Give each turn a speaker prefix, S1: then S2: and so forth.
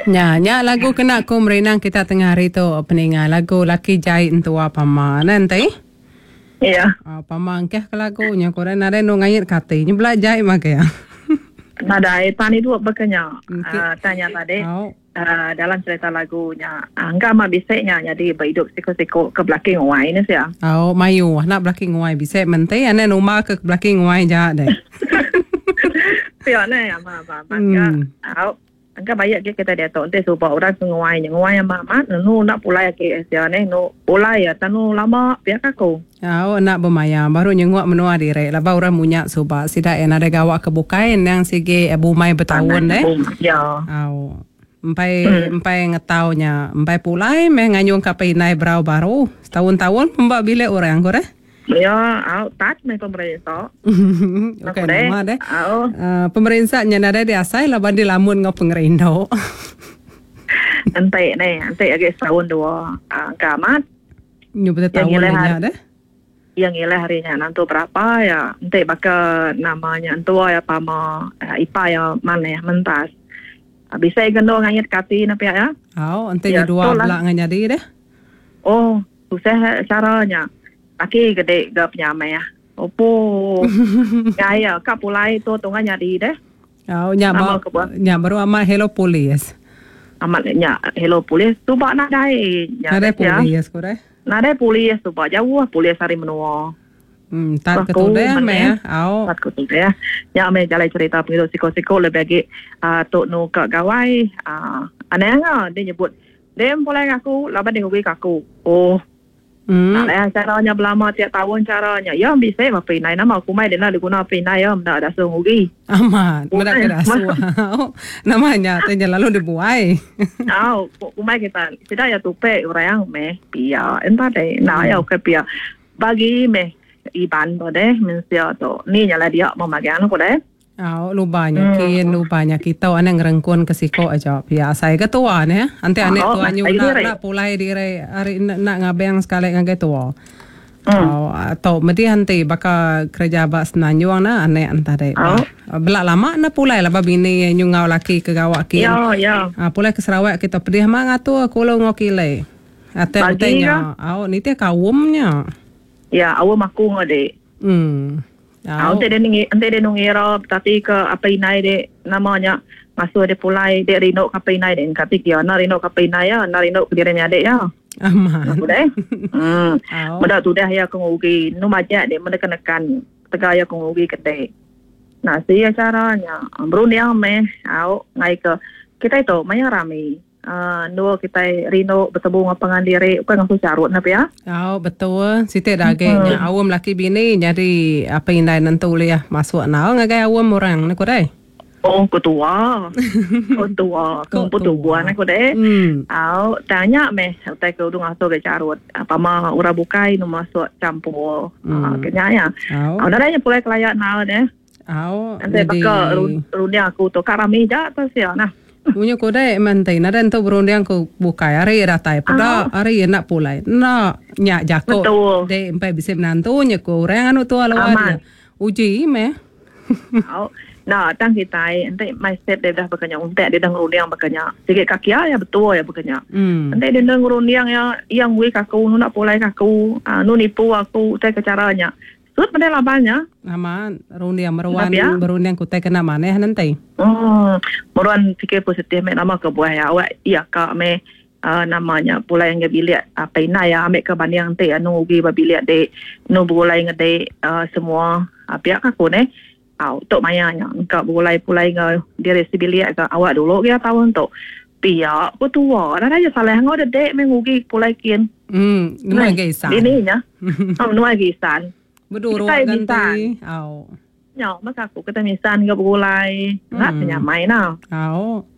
S1: Nya, nya lagu kena ku merinang kita tengah hari tu peninga lagu laki jai entua pama ne enti.
S2: Ya.
S1: Oh, pama engkeh ke lagu nya ku orang nadai nu ngait ke ati. Nya bela jai magi.
S2: Nadai pan idup baka nya. Okay. Uh, tanya tadi. Oh. Uh, dalam cerita lagu nya uh, engka amat bisi nya nyadi ba idup siku-siku ke belaki nguai ni sia.
S1: Oh, mayu nak belaki nguai bisi menti ane numa ke belaki nguai ja deh.
S2: Pia ne ama ama amat ka. Au. Engka baik agi kitai diatu enti suba orang ke nguai nya nguai amat amat nenu enda pulai agi sia neh nu pulai iya tanu lama pia ka aku.
S1: Au enda bemaya baru nyenguk menua diri laban orang munya suba sida iya nadai gawa ke bukai endang sigi bumai betaun deh.
S2: Ya.
S1: Au empai empai ngetau nya empai pulai meh nganyung ka pindai berau baru setaun-taun pemba bilik orang ku deh.
S2: Ya, au tat meh pemerinsa.
S1: Ukai nama deh. Au. Uh, pemerinsa nya nadai diasai laban dilamun enggau pengerindu.
S2: Enti ne, enti agi setahun dua, uh, engka amat.
S1: Nyu betul tahun nya deh.
S2: Yang ngilah hari nya nantu berapa ya, enti baka namanya entua ya pama, uh, ipa ya maneh mentas. Uh, bisa gendo ngayit kati na pia ya.
S1: Au, enti ya, dua bela ngan jadi deh.
S2: Oh, Tusah chara nya. Laki gede ga penyamah. Opo. Ngai iya ka pulai tu tunga nyadi deh.
S1: Au nya ba nya baru amat hello polis.
S2: Amat nya hello polis suba nadai
S1: nya. Nadai polis ku deh.
S2: Nadai polis suba jauh polis ari menua.
S1: Hmm tat ke tudeh meh au.
S2: Tat ke tudeh. Nya meh jalai cerita pengidup siko-siko lebih agi uhh tu nu ka gawai uhh anang ah dia nyebut Dem pulai ngaku laban deh ngugi ka aku. Oh. Hmm. Tak leh cara nya belama tiap taun cara nya. Ya bisi ba pinai nama aku mai dena diguna pinai ya meda dasuh ngugi.
S1: Amat, meda ke dasuh. Nama nya te nya lalu dibuai.
S2: Au, kumbai kita sida ya tupe orang meh pia. Entah deh, nah ya ukai pia. Bagi meh Iban tu deh mensia tu. Ni nya lah dia memagang aku deh.
S1: Au luba nya kin luba nya kitu anang ngerengkun ke siko aja pia asai ke tua neh enti anek tua nyu enda enda pulai diri ari enda enda ngabang sekali ngagai tua. Au tu medih enti baka kereja ba Semenanjung ne anek ne tadi bah bela lama ne pulai laban bini nyu enggau laki ke gawa kin. Pulai ke Sarawak kitu pedih amat ngatur kulu enggau kili. Atek utai nya au nitih kaum nya.
S2: Ya awam aku enggau dik.
S1: Em.
S2: Au enti deh enti deh ngira betati ke apai indai dek nama nya ngasuh deh pulai dek rindu ke apai indai dek engka ti kia enda rindu ke apai indai iya enda rindu ke diri menyadi iya.
S1: Amat.
S2: Aku deh. Em. Meda tudah iya ke ngugi enu majak dek meda nekan ketegal iya ke ngugi ke dek. Nasi acara nya berunding meh au ngai ke kitai tu maya rami. Endur kitai rindu betemu enggau pangan diri ukai ngasuh charut ne pia.
S1: Au betul siti da agi nya aum laki bini nyadi apai indai nentu ulih masuk enggau ngagai aum orang ne ku deh.
S2: Oh ku tua. Ku tua ku empu tubuh ne ku deh. Au tang nya meh utai ke udu ngasuh ga charut pama orang bukai ne masuk champur ke nya iya. Au nadai nya pulai kelaya enggau deh.
S1: Au
S2: Enti baka runding aku tu ka rami ja tu sia nah.
S1: Munyi ku dek meh enti nadai entu berunding ku bukai ari iya datai peda ari iya enda pulai. Enda nya jaku dek empai bisi menantu nya ku orang anu tua luar dia. Uji meh.
S2: Au enda tang kitai enti mindset dia dah baka nya untak dia dah ngerunding baka nya sigi kaki iya betul iya baka nya. Enti dia enda ngerunding iya iya ngui ka aku enda pulai ka aku anu nipu aku utai ke chara nya. Sut meda laban nya.
S1: Amat, runding meruan berunding ke utai kena manah nenti.
S2: Uhh meruan fikir positif meh nama kebuah iya awak iya ka meh uhh nama nya pulai ngagai bilik apai indai iya ambi ke banding enti anu ugi ba bilik dik anu begulai ngan dik uhh semua pia ka aku neh. Au tu maya nya engka begulai pulai enggau diri sebilik ga awak dulu gia taun tu. Pia ku tua nadai nya salah enggau dek meh ngugi pulai kin.
S1: Em nemu agi isan.
S2: Dini nya. Em nemu agi isan.
S1: Beduruk ganti. Au.
S2: Nya meh aku kitai misan enggau begulai. Enda penyamai nah.
S1: Au.